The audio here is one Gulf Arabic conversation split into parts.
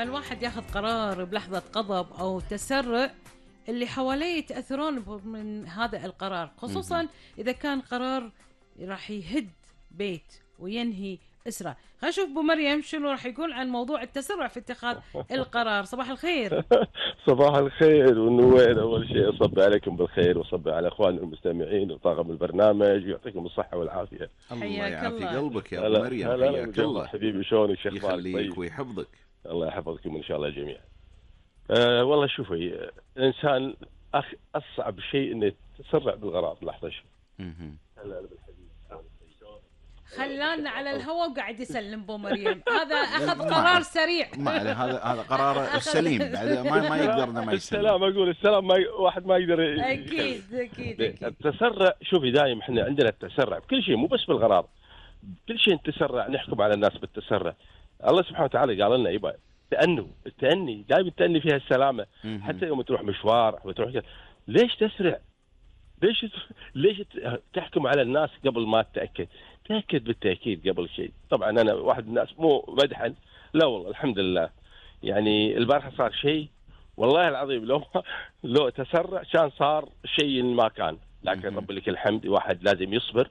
لما الواحد ياخذ قرار بلحظة غضب أو تسرع، اللي حواليه يتأثرون من هذا القرار، خصوصا إذا كان قرار راح يهد بيت وينهي أسرة. خلينا نشوف أبو مريم شنو راح يقول عن موضوع التسرع في اتخاذ القرار. صباح الخير. صباح الخير والنوير. أول شيء أصبح عليكم بالخير وأصبح على أخوان المستمعين وطاقم البرنامج ويعطيكم الصحة والعافية. الله يعافي قلبك يا أبو مريم. حياك الله حبيبي، شلونك؟ شيخ يخليك ويحفظك. الله يحفظكم إن شاء الله جميعا. والله شوفي، الإنسان أصعب شيء إنه يتسرع بالقرار. لحظة شوي. خلانا على الهواء وقاعد يسلم ابو مريم. هذا اخذ قرار سريع. ما عليه، هذا قرار السليم. ما يقدر ما يسلم. السلام، اقول السلام، واحد ما يقدر. اكيد. التسرع، شوفي دايم احنا عندنا التسرع بكل شيء، مو بس بالقرار، بكل شيء نتسرع، نحكم على الناس بالتسرع. الله سبحانه وتعالى قال لنا يبقى التأني دائما، التأني فيها السلامة. حتى يوم تروح مشوار وتروح، ليش تسرع؟ ليش تحكم على الناس قبل ما تتأكد؟ تأكد بالتأكيد قبل شيء. طبعا أنا واحد من الناس مو مدحا، لا والله الحمد لله. يعني البارحة صار شيء والله العظيم، لو تسرع كان صار شيء ما كان، لكن رب لك الحمد. واحد لازم يصبر،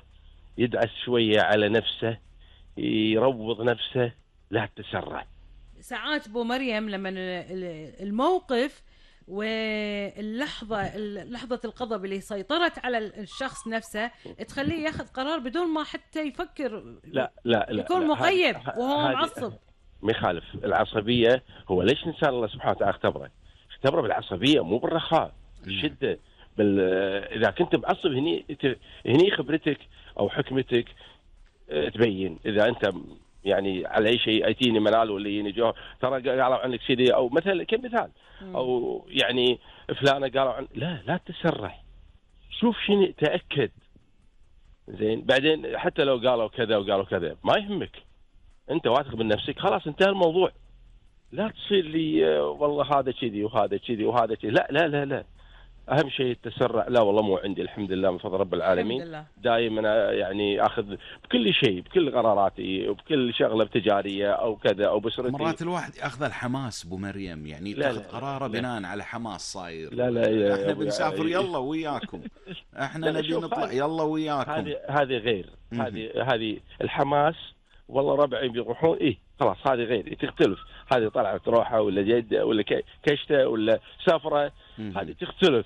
يدعس شوية على نفسه، يروض نفسه، لا تسرع. ساعات ابو مريم لما الموقف لحظة الغضب اللي سيطرت على الشخص نفسه تخليه ياخذ قرار بدون ما حتى يفكر. لا يكون مقيد وهو معصب. ما يخالف العصبية. هو ليش الإنسان الله سبحانه وتعالى اختبره بالعصبية، مو بالرخاء، بالشدة. إذا كنت معصب هني خبرتك أو حكمتك تبين. إذا أنت يعني على أي شيء أتيني منال ولا يجيني جوه، ترى قالوا عنك كذي، أو مثلا كمثال، أو يعني فلانة قالوا عن، لا تسرع، شوف شنو، تأكد زين. بعدين حتى لو قالوا كذا وقالوا كذا ما يهمك، أنت واثق من نفسك، خلاص انتهى الموضوع. لا تصير لي والله هذا كذي وهذا كذي وهذا كذي، لا. أهم شيء التسرع لا والله مو عندي، الحمد لله من فضل رب العالمين. دائما يعني أخذ بكل شيء، بكل قراراتي وبكل شغلة تجارية أو كذا أو بسرتي. مرات الواحد يأخذ الحماس أبو مريم، يعني يأخذ قراره بناء على حماس صاير. لا احنا بنسافر يلا وياكم، احنا نبي نطلع يلا وياكم. هذه غير. هذه الحماس، والله ربعي بيروحون خلاص هذه غير، تختلف. هذه طلعت روحه ولا جده ولا كشته ولا سفره، هذه تختلف.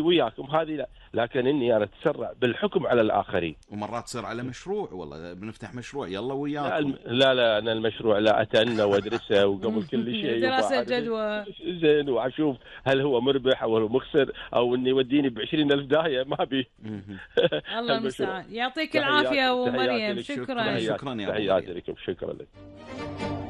وياكم هذه لا. لكن اني انا اتسرع بالحكم على الاخرين. ومرات تصير على مشروع، والله بنفتح مشروع يلا وياكم. لا انا المشروع لا اتأنى وادرسه وقبل كل شيء دراسه جدوى زين، واشوف هل هو مربح او هو مخسر، او اني يوديني ب20,000 داهيه ما بي. الله المستعان. يعطيك العافيه ابو مريم. شكرا يا تحياتي لكم. شكرا لك.